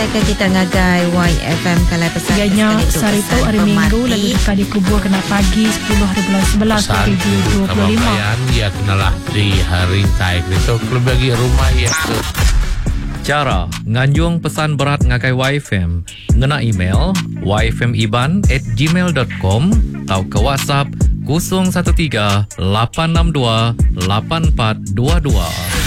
ngenatai ke kita ngagai YFM kalai pesan Iya ke nya sekali tu sehari tu pesan hari Minggu lalu pemati. deka dikubur kena pagi 10 hari bulan 11 Pesan tuju kaban 2025. belayan iya kenalah di rintai ditu kelebih agi rumah iya ke Chara nganjung pesan berat ngagai YFM ngena email yfmiban at gmail dot com tauka WhatsApp 013 862 8422.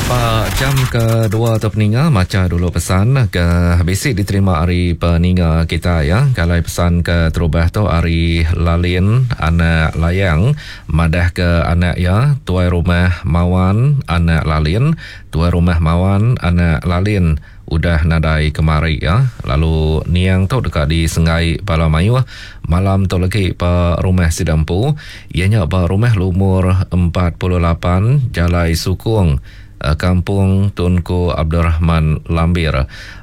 Ba jam ke dua tu peninga macha dulu pesan ke bisi diterima ari peninga kita ya. Kalai pesan ke terubah tu ari Lalin anak Layang madah ke anak iya tuai rumah Mawan anak Lalin Tuai Rumah Mawan anak Lalin udah nadai kemari iya lalu niang tu deka disenggai bala mayuh malam tu legi ba rumah sida empu iya nya ba rumah lumur 48 Jalai Sukong Kampung Tunku Abdul Rahman Lambir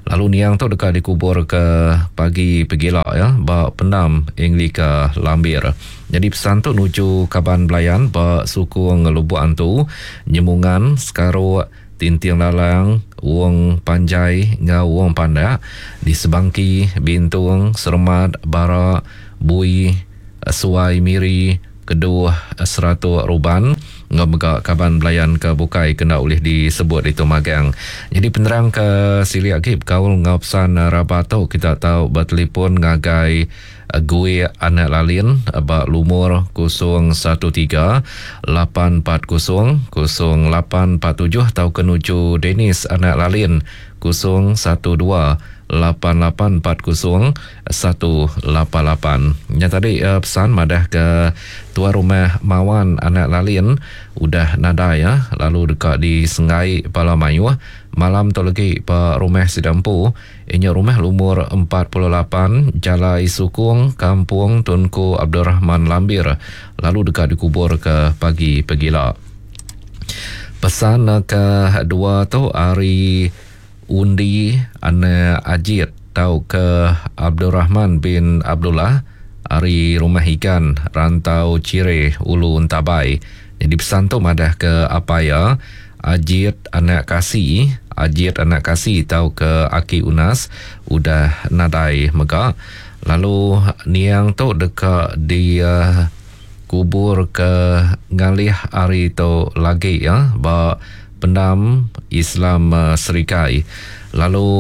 lalu niang tu deka dikubur ke pagi pegila iya ba pendam Anglika Lambir. Nyadi pesan tu nuju kaban belayan ba sukung Lubok Antu, Nyemungan, Sekaruk, Tinting Lalang, Wong Panjai enggau Wong Pandak di Sebangki, Bintung, Seremat, Bara, Bui, Suai Miri, Keduh, Seratuk Ruban enggau mega kaban belayan ke bukai ke enda ulih disebut ditu magang. Nyadi penerang ke silik agi bekaul enggau pesan rabat tu kita tau betelefon ngagai Gui anak Lalin ba lumur 013 840 0847 tauka nuju Dennis anak Lalin 012 8840 188. Nya tadi pesan madah ke tuai rumah Mawan anak Lalin udah nadai lalu deka disenggai bala mayuh malam tu legi ba rumah sida empu. Iya nya rumah lumur 48 Jalai Sukong, Kampung Tunku Abdul Rahman Lambir lalu deka dikuburka pagi pegila. Pesan ke dua tu ari Undi anak Ajit tauka Abdul Rahman bin Abdullah ari Rumah Igan, Rantau Chire, Ulu Entabai. Nyadi pesan tu madahka apai iya Ajit anak Kasi, Ajit anak Kasi tauka Aki Unas udah nadai mega lalu niang tu deka dikubur ke ngalih hari tu lagi ya ba Pendam Islam Serikai. Lalu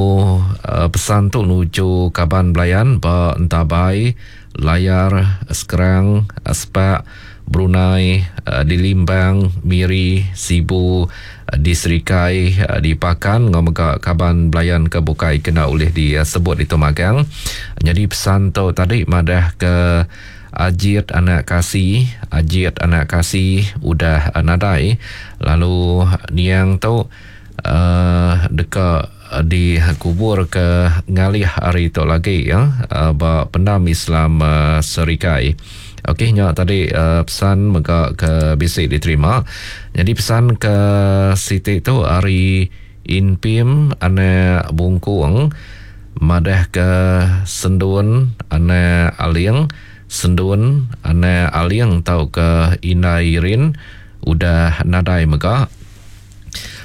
pesan tu nuju kaban belayan ba Entabai, Layar, Skrang, Spak, Brunei, di Limbang, Miri, Sibu, di Serikai, di Pakan enggau mega kaban belayan ke bukai ke enda ulih disebut ditu magang. Nyadi pesan tu tadi madah ke Ajit anak Kasi, Ajit anak Kasi udah nadai lalu niang tu uhh deka dikubur ke ngalih hari tu lagi ya ba Pendam Islam Serikai. Okey nya tadi pesan mega ke bisi diterima. Nyadi pesan ke siti tu ari Inpim anak Bungkung madah ke Sendun anak Aling, Sendun anak Aling tauka Indai Irin udah nadai mega.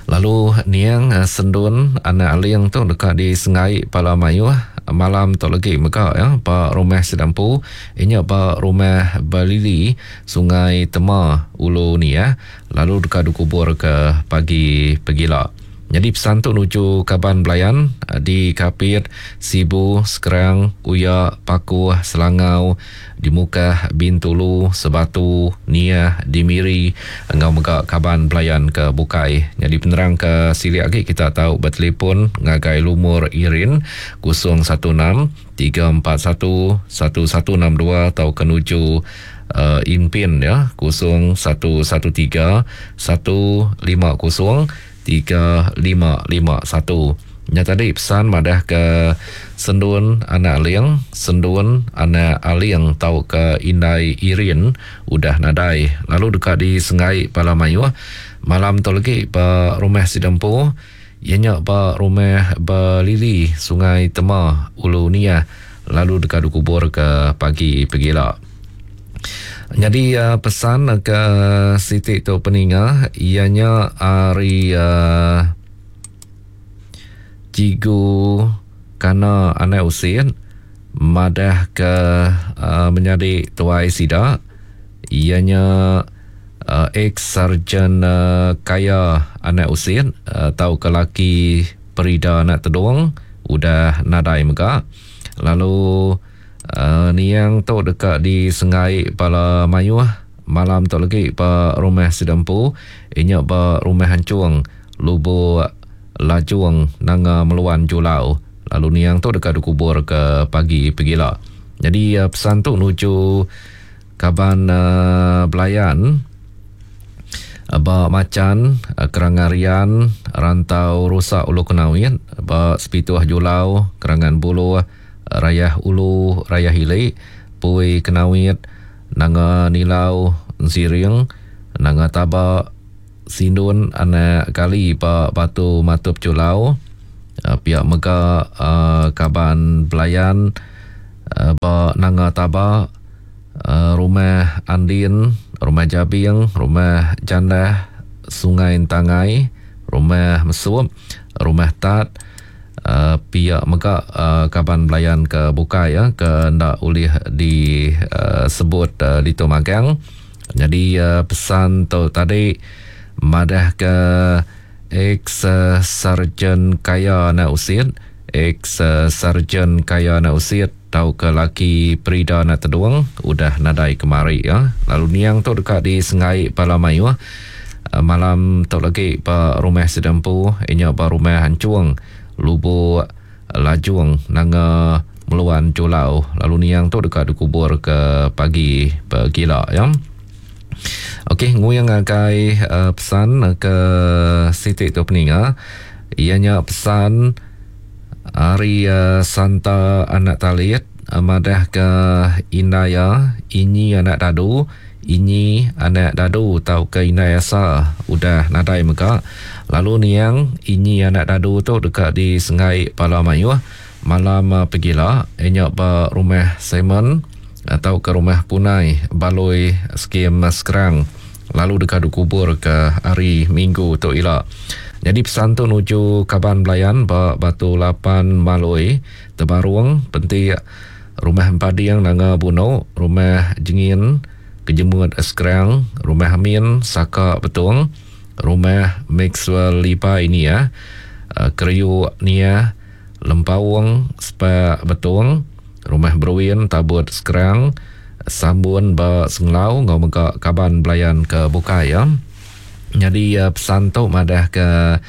Lalu niang Sendun anak Aling tu deka disenggai bala mayuh malam tu legi mega ya ba rumah sida empu inya ba rumah Balili Sungai Tema Ulu Niah lalu deka dikubur ke pagi pegila. Nyadi pesan tu nuju kaban belayan di Kapit, Sibu, Skrang, Uya, Pakuh, Selangau, di Mukah, Bintulu, Sebatu, Niah, di Miri enggau mega kaban belayan ke bukai. Nyadi penerang ke silik agi kita tau betelefon ngagai lumur Irin 016 341 1162 tauka nuju uh, Inpin ya 0113 150 3551. Nya tadi pesan madah ke Sendun anak Ling, Sendun anak Aling tauka Indai Irin udah nadai lalu deka disenggai bala mayuh malam tu legi ba rumah sida empu iya nya ba Rumah Belili Sungai Tema Ulu Niah lalu deka dikubur ke pagi pegila. Nyadi pesan ke siti tu peninga iya nya ari Cikgu. Kana anak Usit madah ke menyadi tuai sida iya nya ex Sarjan Kaya anak Usit tauka laki Perida anak Tedong udah nadai mega lalu niang tu deka disenggai bala mayuh malam tu legi ba rumah sida empu inya ba Rumah Anchung Lubok Lajung Nanga Meluan Julau lalu niang tu deka dikubur ke pagi pegila. Nyadi pesan tu nuju kaban belayan ba Machan Kerangan Rian Rantau Rusak Ulu Kenawit ba Sepituh Julau Kerangan Buluh Rayah Ulu Rayah Ili Pui Kenawit Nanga Nilau Ensiring Nanga Taba Sindun anak Gali ba Batu Matup Julau pia mega kaban belayan ba Nanga Taba Rumah Andin, Rumah Jabing, Rumah Jandah, Sungai Entangai, Rumah Mesup, Rumah Tat pia mega kaban belayan ke bukai ke enda ulih disebut ditu magang. Nyadi pesan tu tadi madahka ex Sarjan Kaya anak Usit, ex Sarjan Kaya anak Usit tauka laki Perida anak Tedung udah nadai kemari ya. Lalu niang tu deka disenggai bala mayuh malam tu lagi ba rumah sida empu inya ba rumah Anchung Lubok Lajung Nanga Meluan Julau lalu niang tu deka dikubur ke pagi pegila ya. Okey nguing ngagai uh, pesan ke siti tu peninga iya nya pesan ari uh, Santa Anak Talit uh, madah ke indai iya Inyi Anak Dadu Inyi anak dadu tauka indai asa udah nadai mega lalu niang Inyi anak dadu tu deka disenggai bala mayuh malam pegila iya nya ba Rumah Simon tauka Rumah Punai Balui Skim Skrang lalu deka dikubur ke hari Minggu tu ila. Nyadi pesan tu nuju kaban belayan ba Batu Lapan Malui Tebarung Pentik Rumah Empading Nanga Buno, Rumah Jengin, Kejemut Skrang, Rumah Amin, Saka Betong, Rumah Maxwell Libai Niah, Keriuk Niah, Lempaung Sepak Betong, Rumah Beruin Tabut Skrang, Sambun ba Senglau enggau mega kaban belayan ke bukai. Nyadi pesan tu madahka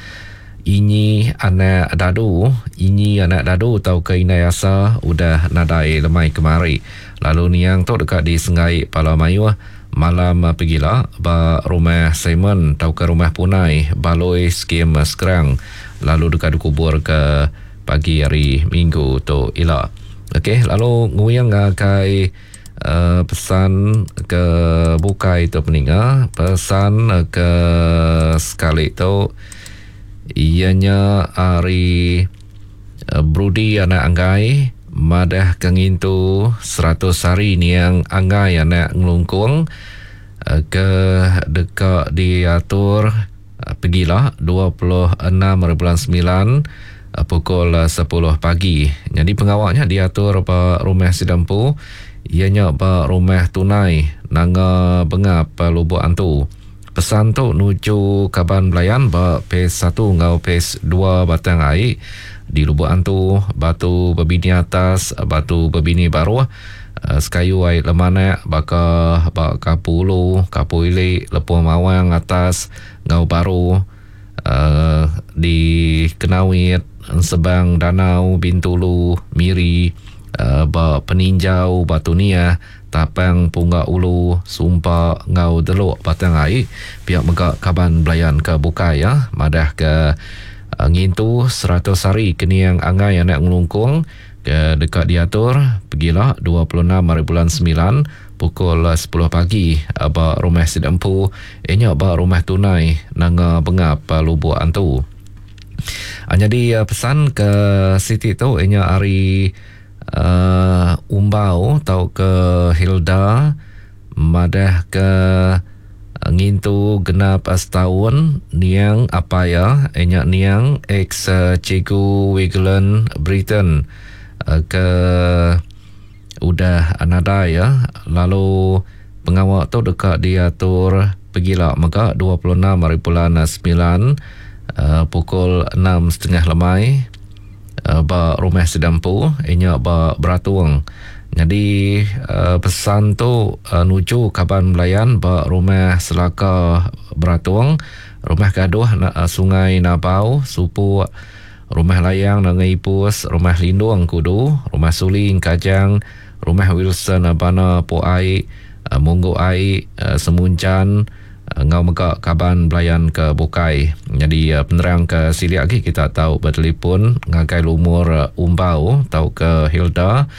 Inyi anak dadu, Inyi anak dadu tauka indai asa udah nadai lemai kemari. Lalu niang tu deka disenggai pala mayuh malam pegila ba Rumah Simon tauka Rumah Punai, Baloi Skim Skrang lalu deka dikubur ke pagi hari Minggu tu ila. Okey lalu nguing ngagai Pesan ke bukai tu peninga, pesan ke sekali tu iya nya ari Brudi anak Anggai madah ke ngintu 100 hari niang Anggai anak Ngelungkung ke deka diatur Pegila, 26 hari bulan semilan, pukul sepuluh pagi. Nyadi pengawa nya diatur ba rumah sida empu, iya nya ba Rumah Tunai, Nanga Bengap, Lubok Antu. Pesan tu nuju kaban belayan ba Phase satu enggau Phase dua Batang Ai di Lubok Antu, Batu Bebini Atas, Batu Bebini Baruh, Sekayu ai lemanak baka ba Kapu Ulu, Kapu Ili, Lepung Mawang Atas enggau Baru di Kenawit, Ensebang Danau, Bintulu, Miri, ba Peninjau, Batu Niah, Tapang Pungga Ulu, Sumpa enggau Delok Batang Ai. Pia mega kaban belayan ke bukai madahka ngintu 100 hari Keniang Angai Anak Ngelungkung ke deka diatur pegila 26 hari bulan semilan pukul sepuluh pagi ba Rumah Sida Empu iya nya ba Rumah Tunai Nanga Bengap Lubok Antu. Nyadi pesan ke siti tu iya nya ari uhh Umbau tauka Hilda madah ke. Ngintu genap setaun niang apai iya nya niang ex Cikgu Wigland Britton ke udah nadai iya lalu pengawa tu deka diatur pegila mega 26 hari bulan semilan pukul enam setengah lemai. Ba rumah sida empu inya ba Beratung. Nyadi pesan tu nuju kaban belayan ba rumah Selaka Beratung, Rumah Gaduh Sungai Nabau, Supuk, Rumah Layang Nanga Ipus, Rumah Lindung Kudu, Rumah Suli Engkajang, Rumah Wilson Bana Puai, Munggu Ai, Semunchan, Enggau mega kaban belayan ke bukai. Nyadi penerang ke silik agi kita tau betelefon ngagai lumur Umbau tauka Hilda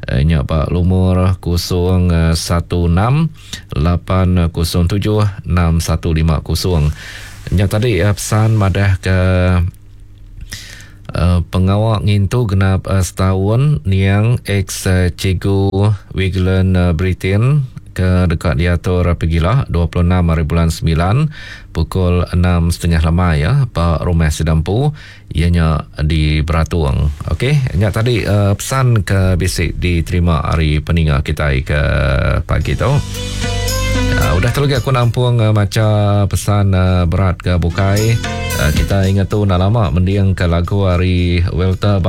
nya ba lumur 016 807 6150. Nya tadi pesan madah ke pengawa ngintu genap setaun niang ex Cikgu Wigland Britain ke deka diatur pegila 26 hari bulan semilan pukul enam setengah lemai ba Rumah Sida Empu iya nya di Beratung. Okey, nya tadi pesan ke bisi diterima ari peninga kitai ke pagi tu. Udah tu lagi aku nampung macha pesan berat ke bukai. Kita ingat tu enda lama mending ke lagu ari Welter.